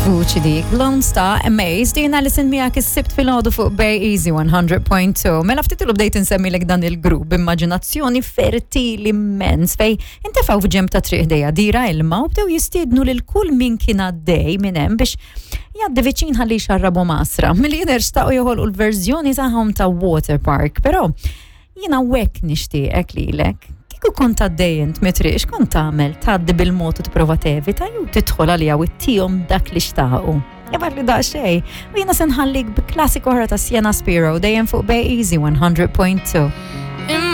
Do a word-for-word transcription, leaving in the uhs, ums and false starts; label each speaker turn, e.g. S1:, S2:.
S1: Vuċi dik, Lone Star Amazed, jiena Alison miegħek is-Sibt filgħodu fuq Bay Easy one hundred point two. Mela ftit ilu bdejt insemmilek dan il-grupp b'immaġinazzjoni fertili immens fejn intefgħu f'ġenb ta' triq ħdejha dira ilma u bdew jistiednu lil kull min kien għaddej minn hemm biex jgħaddi viċin ħalli jxarrabu masra. Milli jidher xtaqu joħolqu l-verżjoni tagħhom ta' Water Park, però jiena hekk nixtieqek lilek. Kieku kont għaddej int mit-triq, x'kont tagħmel? Tgħaddi bil-mod u tipprova tevita jew tidħol għalija u ttihom dak li xtaqu? Jabbar li daqsxejn. U jiena se nħallik bi klassik oħra ta' Sienna Spiro, dejjem fuq Bay Easy one hundred point two.